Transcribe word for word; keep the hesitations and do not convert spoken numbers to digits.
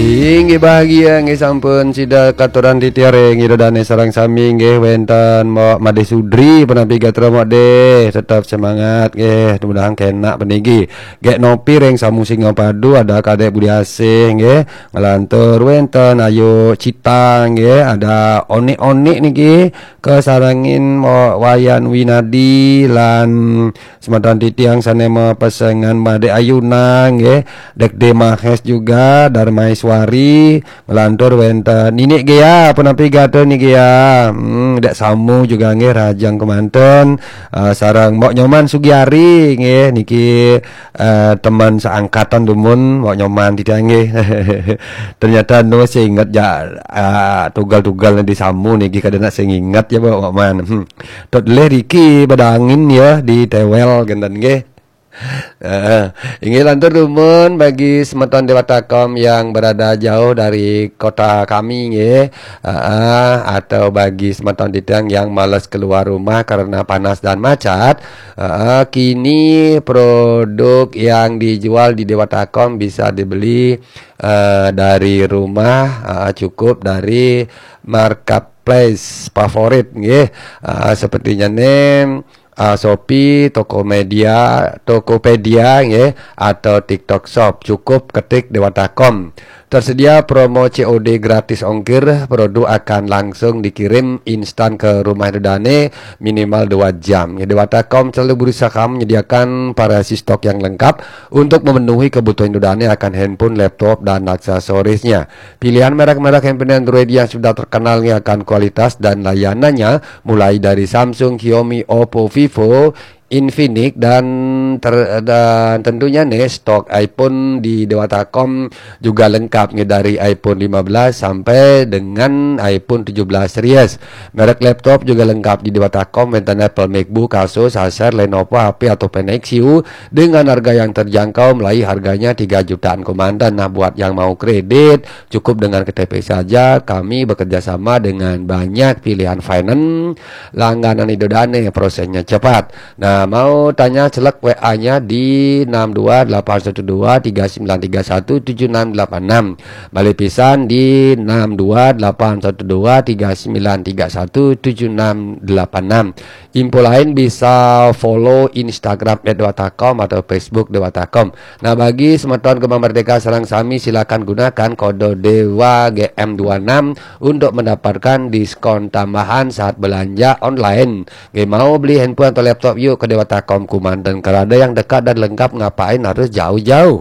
Inggih bahagia nggih sampun sida katuran titiang ring Ida Dane sareng sami nggih wenten Mok Made Sudri punapi gatra Mok De. Tetap semangat nggih, mudahan kenak puniki. Gek Nopi ring Samu Singapadu ada Kadek Budi Asih nggih. Ngelantur wenten Ayu Cita nggih, ada Onik-onik niki kasarengin Mok Wayan Winadi lan semeton titiang sane mapesengan Made Ayuna nggih, Dek De Mahes juga, Darmaiswari, ngelantur wenten Ninik Gea, punapi gatra Ni Gea. Hmm, Dek Samu juga nggih, rahajeng kemanten, eh, sareng Mbok Nyoman Sugiari nggih, niki, eh, teman seangkatan dumun Mbok Nyoman titiang nggih. Ternyata nu sing inget ja, eh, tugal-tugal Dek Samu niki kada nak sing inget ya Mbok Nyoman. Hmm. Tot leh riki badangin ya di tewel genten nggih. Heeh. Inggih lantur dumun bagi semeton Dewata Kom yang berada jauh dari kota kami nggih. Heeh, atau bagi semeton titiang yang malas keluar rumah karena panas dan macet, heeh, kini produk yang dijual di Dewata Kom bisa dibeli, eh, dari rumah, heeh, cukup dari marketplace favorit nggih. Heeh, sepertinya nih, ah, Shopee, Tokomedia, Tokopedia nggih, atau TikTok Shop. Cukup ketik Dewata Kom. Tersedia promo C O D gratis ongkir, produk akan langsung dikirim instan ke rumah Ida Dane minimal dua jam. Ya, Dewata Kom selalu berusaha menyediakan variasi stok yang lengkap untuk memenuhi kebutuhan Ida Dane akan handphone, laptop, dan aksesorisnya. Pilihan merek-merek handphone Android yang sudah terkenal nggih akan kualitas dan layanannya, mulai dari Samsung, Xiaomi, Oppo, Vivo, Infinix, dan ter-, dan tentunya nih stok iPhone di Dewata Kom juga lengkap nggih, dari iPhone lima belas sampai dengan iPhone tujuh belas series. Merek laptop juga lengkap di Dewata Kom, wenten Apple MacBook, Asus, Acer, Lenovo, H P atau Nexus dengan harga yang terjangkau, mulai harganya tiga jutaan kemanten. Nah, buat yang mau kredit, cukup dengan K T P saja. Kami bekerja sama dengan banyak pilihan finance langganan Ida Dane, prosesnya cepat. Nah, mau tanya, celek W A-nya di enam dua delapan satu dua tiga sembilan tiga satu tujuh enam delapan enam. Balik pisan di enam dua delapan satu dua tiga sembilan tiga satu tujuh enam delapan enam. Info lain bisa follow Instagram at dewata com atau Facebook Dewata com. Nah, bagi semeton Gema Merdeka sareng sami, silakan gunakan kode Dewa G M dua enam untuk mendapatkan diskon tambahan saat belanja online. Nggih, mau beli handphone atau laptop, yuk ke Dewata Com kemanten. Kalau ada yang dekat dan lengkap, ngapain harus jauh-jauh?